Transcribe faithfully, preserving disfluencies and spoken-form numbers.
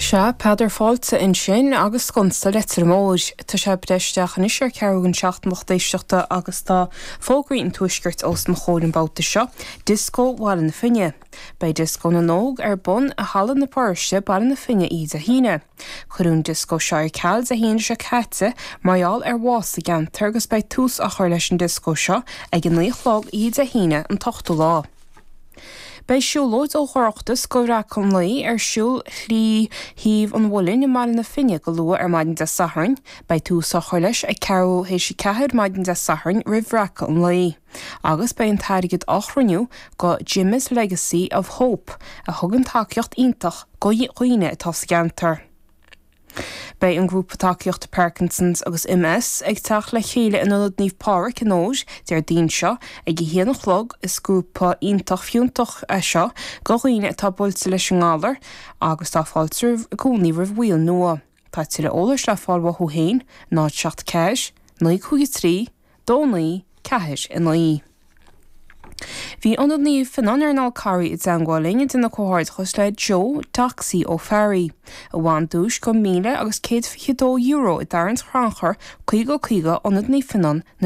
Sea, Peadar Fáilte ansin agus Sconsa Leitir Móir. Tá sé breis isteach anois ar ceathrú don seacht a lucht éisteachta agus tá fógraí an tuaiscirt os mo chomhair an babhta seo, Dioscó Bhaile na Finne. Beidh Dioscó na nÓg ar bun i Halla na Paróiste Baile na Finne Dé hAoine. Cuireadh an dioscó seo ar ceal Dé hAoine seo caite mar gheall ar bhás sa gceantar agus beidh tús á chur leis an dioscó seo ag a naoi a chlog Dé hAoine an t-ochtú lá. Beidh siúlóid ó Oireachtas go Bhreacadh an Lae ar siúl trí thaobh an Mhuilinn i mBaile na Finne go luath ar maidin Dé Sathairn, beidh tús á chur leis ag ceathrú théis a ceathair maidin Dé Sathairn roimh Bhreacadh an Lae. Agus beidh an t-airgead á chruinniú go Jimmy's Legacy of Hope a thugann tacaíocht iontach go dhaoine atá sa gceantar. Beidh an grúpa tacaíochta Parkinson's agus MS ag teacht le chéile in Ionad Naomh Pádraig in Óir Déardaoin seo ag a haon a chlog is grúpa iontach fiúntach é seo go dhaoine atá buailte leis an ngalar agus tá fáilte i gcónaí roimh bhaill nua. Tá tuilleadh eolais le fáil uathu féin náid seacht ceathair, naoi cúig trí, dó naoi, ceathair a naoi. Bhí Ionad Naomh Fionnán ar an Fhál Carraigh i dteagmháil linn ag déanamh comhghairdeachas le Joe Doxy Ó Fearraí, a bhain duais go míle agus céad fiche dó euro i dtarraingt chrannchuir caoga caoga Ionad Naomh Fionnán na